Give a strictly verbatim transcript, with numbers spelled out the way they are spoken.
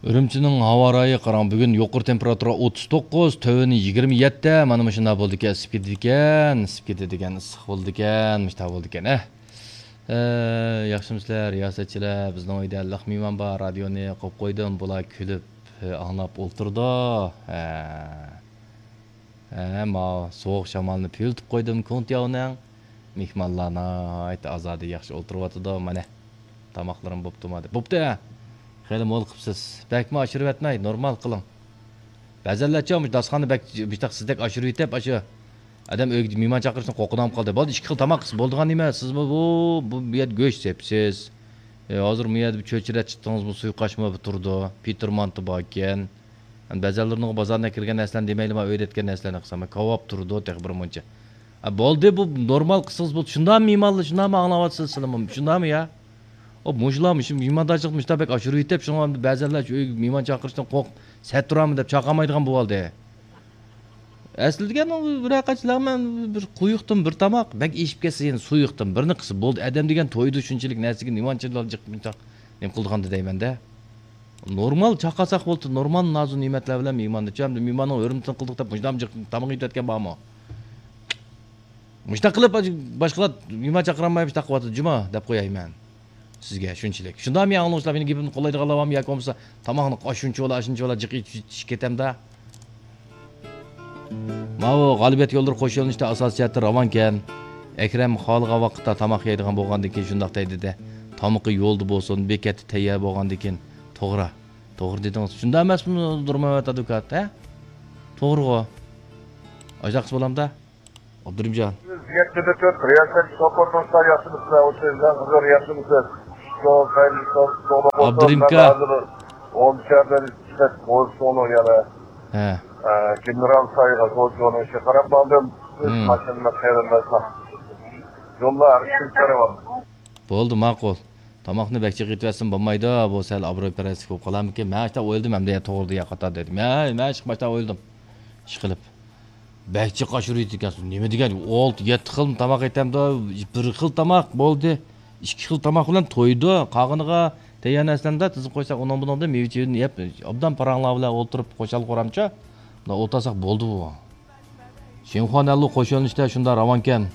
ئۈرۈمچىنىڭ ھاۋا رايى قاراڭ، بۈگۈن يۇقىرى تېمپېراتۇرا ئوتتۇز توققۇز، تۆۋىنى يىگىرمە يەتتە، مانا مۇشۇنداق بولىدىكەن، ئىسسىپ كېتىدىكەن، ئىسسىپ كېتىدىكەن، ئىسسىق بولىدىكەن، مۇشۇنداق بولىدىكەن، ھە. ئە، ياخشىمۇسىلەر، رىياسەتچىلەر؟ بىزنىڭ ئۆيدە لىق مېھمان بار، رادىيونى قويۇپ قويدۇم، بۇلار كۈلۈپ، ئە، ئاڭلاپ ئولتۇرىدۇ. ھە. ھە، ماۋۇ سوغۇق شامالنى پۈۋلىتىپ قويدۇم كۇڭتياۋنىڭ. مېھمانلار ناھايىتى ئازادە ياخشى ئولتۇرۇۋاتىدۇ، مانا. تاماقلىرىم بوپتۇما دەپ. بوپتۇ، ھە. خېلى مول قىپسىز. بەكمۇ ئاشۇرۇۋەتمەي، نورمال قىلىڭ. بەزەنلەرچە مۇشۇ داستىخاننى بەك، مۇشۇنداق سىزدەك ئاشۇرۇۋېتىپ، ئاشۇ ئادەم ئۆيگە مېھمان چاقىرىشتىن قورقىدىغان بولۇپ قالدى. بولدى، ئىككى خىل تاماق قىلسا بولىدىغان نېمە؟ سىزمۇ بۇ، بۇ، بۇ يەردە گۆش سېپسىز. ئە، ھازىر بۇ يەردە بىر چۆچۈرە چىتىڭىزمۇ، سۇيۇقئاشمۇ بىر تۇرىدۇ. پېتىر مانتا باركەن. ئەمدى بەزەنلىرىنىڭ بازاردىن كىرگەن نەرسىلەرنى دېمەيلىما، ئۆيدە ئەتكەن نەرسىلەرنى قىلسام، كاۋاپ تۇرىدۇ تېخى بىر مۇنچە. ئە، بولدى، بۇ نورمال قىلسىڭىز بولدى. شۇنداقمۇ مېھمانلار، شۇنداقمۇ ئاڭلاۋاتىسىز سىلەرمۇ؟ شۇنداقمۇ يا؟ ئۇ مۇشۇلار مۇشۇ مېھماندارچىلىقنى مۇشۇنداق بەك ئاشۇرۇۋېتىپ، شۇڭا بەزەنلەر شۇ ئۆيگە مېھمان چاقىرىشتىن قورقۇپ، سەت تۇرامەن دەپ چاقىرمايدىغان بولۇۋالدى. ئەسلى دېگەن ئۇ بىر قانچىلار مەن بىر قويۇقتىن بىر تاماق، بەك ئېشىپ كەتسە يەنە سۇيۇقتىن بىرنى قىلسا بولدى. ئادەم دېگەن تويدا شۇنچىلىك نەرسىگە نېمانچىلار جىق جىق نېمە قىلىدىغان دەيمەن-دە. نورمال چاقىرساق بولدى، نورمال نازۇ نېمەتلەر بىلەن مېھماننى. چۈ، ئەمدى مېھماننىڭ ھۆرمىتىنى قىلدۇق دەپ مۇشۇنداق جىق تاماق يېتىۋەتكەن بارمۇ؟ مۇشۇنداق قىلىپ، باشقىلار مېھمان چاقىرالماي مۇشۇنداق قىلىۋاتىدۇ، جۇما دەپ قوياي مەن سىزگە شۇنچىلىك. شۇنداقمۇ ئاڭلىغۇچىلار، مېنىڭ گېپىمنى قوللايدىغانلار بارمۇ ياكى بولمىسا تاماقنى ئاشۇنچە بولا، ئاشۇنچە بولا جىق ئېتىشىپ كېتەمدە؟ ماۋۇ غالىبىيەت يوللىرى قوش يۆنىلىشتە ئاساسىي جەھەتتە راۋانكەن. ئەكرەم خالىغان ۋاقىتتا تاماق يەيدىغان بولغاندىن كېيىن شۇنداق دەيدۇ-دە. تامىقى يولدا بولسۇن، بېكەتتە تەييار بولغاندىن كېيىن. توغرا. توغرا دېدىڭىز. شۇنداق ئەمەسمۇ، نۇرمەمەت ئادۋوكات، ھە؟ توغرىغۇ. ئاشۇنداق قىلسا بولامدا؟ ئابدۇرېھىمجان. يەتتىدە تۆت، رىياسەت سوپۇر توستا ياخشىمۇسىلەر؟ ئوتتۇز يىلدىن قىزىق ياخشىمۇسىز؟ شۇ سايلىسىز، توغرا بولسۇن. ئابدۇرېھىم ئاكا. مەن ھازىر ئون شەھەردىن چىقىپ، غوزچۇنىڭ يەنە، ھە. ئە، گېنېرال سايغا غوزچۇنىڭ ئىشىغا قاراپ ماڭدىم. سىز ماشىنىمۇ قېرىنداشلار. يولدا ھەر كىم كۆرۈۋالدى. بولدى، ماقۇل. تاماقنى بەك جىق ئېتىۋەتسىمۇ بولمايدۇ، بۇ سەل ئابرۇي پەرەسلىك بولۇپ قالارمىكىن؟ مەن شۇنداق ئويلىدىم، ئەمدى توغرا دېگەن قاتار دېدىم. ھە، مەن شۇنداق ئويلىدىم. ئىشقىلىپ. بەك جىق ئاشۇرۇۋېتىدىكەنسىز. نېمە دېگەن؟ ئالتە، يەتتە خىل تاماق ئېتەمدۇ؟ بىر خىل تاماق بولدى. ئىككى خىل تاماق بىلەن تويدى. قالغىنىغا تەييار نەرسىلەرنى تىزىپ قويساق، ئۇنىڭ بۇنىڭدىن مېۋە-چېۋىدىن يەپ، ئوبدان پاراڭلار بىلەن ئولتۇرۇپ، خۇشال-خۇرامچە مۇنداق ئولتۇرساق بولدى بۇ. شىنخۇا نەنلۇ قوش يۆنىلىشتە شۇنداق راۋانكەن.